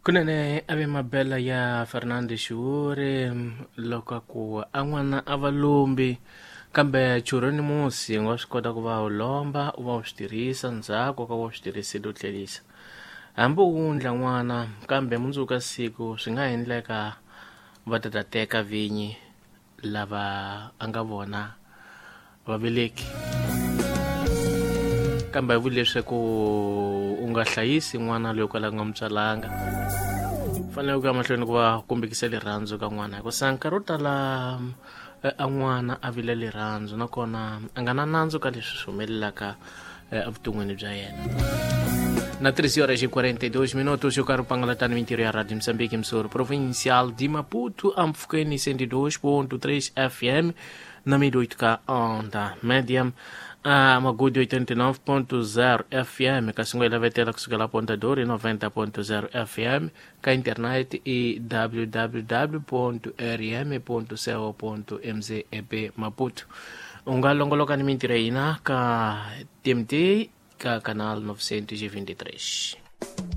Kunene a ve mabela ya Fernando Xiwuri loko a ku a n'wana a va lombi kambe churho ni musi u nga swi kota ku va u lomba u va u swi tirhisa ndzhaku ka va u swi tirhisile u tlherisa hambi u wundla n'wana kambe mundzuku ka siku swi nga endleka va ta ta teka vinyi lava a nga vona vaveleki kambe a vuli leswaku u nga hlayisi n'wana loyi kwala nga mutswalanga fanele ku ya mahlweni ku va kombekisa rirhandzu ka n'wana hikusa nkarhi wo tala a n'wana a vile rirhandzu nakona a nga na nandzu ka leswi swi humelelaka evuton'wini bya yena. Na 13 horas e 42 minutos, eu quero pangalatana mintirho ya Rádio Moçambique, emissora provincial de Maputo, Amfukeni 102.3 FM, na 1008K onda média, a Magude 89.0 FM, Caxinguela Vetela kusukela Ponta Dor 90.0 FM, ka internet e www.rm.co.mz Maputo. U nga longoloka ni mintirho ya hina ka TMT ka canal 923.